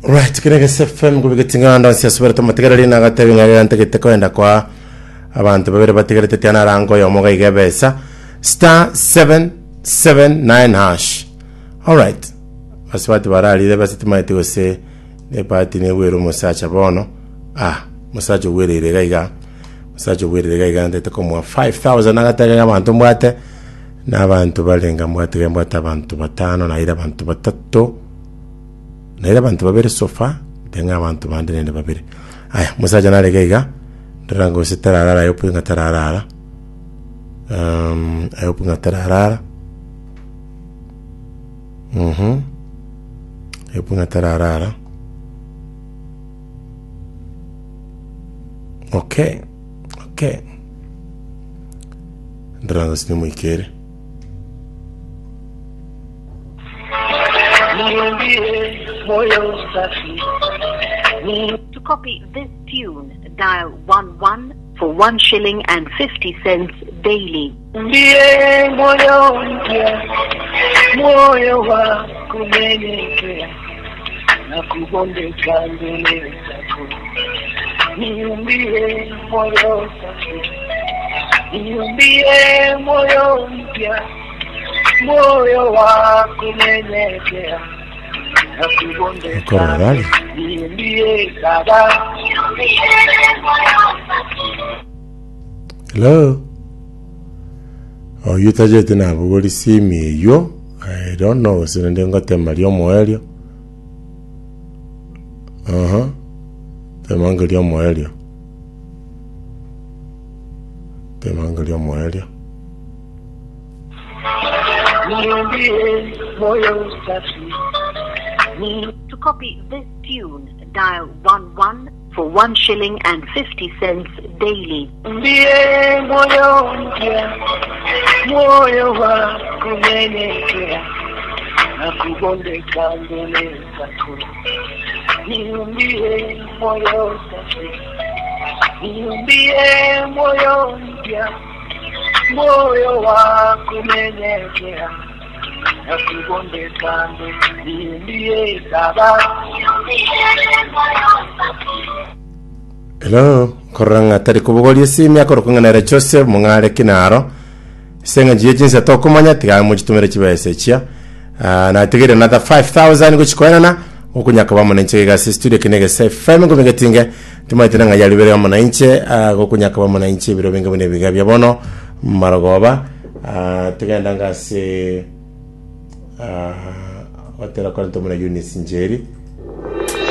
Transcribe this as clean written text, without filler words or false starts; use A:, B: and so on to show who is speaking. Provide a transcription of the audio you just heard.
A: Right, kere gese FM gobegeti ng'anda onsi ase tomotegereri na agatebi ng'a rero ntagete koenda kwa abanto babere batigerete tiana arango oyomo gaiga ebesa star 779 hash. Alright. Basubati bararire ebesa timaeti gose ebahati negwere omosacha bono. Ah, omosacha ogwereire iga iga. Omosacha ogwereire iga iga ntagete komoa 5000 agatebe ng'a abanto mbwate na abanto barenga mbwate iga mbwate abanto batano naire abanto batato. Naire abanto babere so far, nte ng'a abanto bande naende babere. Aya, omosacha nare iga iga, ndora gose tararara I hope ng'a tararara. Um, I hope ng'a tararara. Mhm. I hope ng'a tararara. Okay, okay. Ndora gose nimoikere.
B: To copy this tune, dial 1 1 for 1 shilling and 50 cents daily.
C: Ndiye moyo mpya, moyo wa kunyenyekea na kubondeka mbele zako. Niumbie moyo safi, niumbie moyo mpya, moyo wa kunyenyekea na kubondeka.
A: Okorora
C: Niumbie Baba.
A: Hello? Oyio tachete nabogori simi eyio, I don't know gose naende ngotema riomoerio. Aha, tema nge riomoerio. Tema nge riomoerio.
C: Niumbie moyo safi. Ni
B: To copy this tune, dial 1 1 for 1 shilling and 50 cents daily.
C: Ndiye moyo mpya, moyo wa kunyenyekea na kubondeka mbele zako. Niumbie moyo safi, niumbie moyo mpya, moyo wa kunyenyekea na kubondeka mbele. Niumbie Baba.
A: Hello, korora ng'a tari kobogoria esimi akorokwa ng'a nere Joseph mong'are kinaro ase eng'encho ye chinsa tokomanya tiga mochitumere chibesa echia Ah, natigeire another 5000 gochikoenana gokonya koba amo nainche iga ase studio kine gese FM ngomegetinge timaete na ng'a yaribere amo nainche ah, gokonya koba amo nainche ebiro binge buna ebiga bia bono marogoba Ah, togenda ngase ah, gotera korenta omuna Eunice Njeri.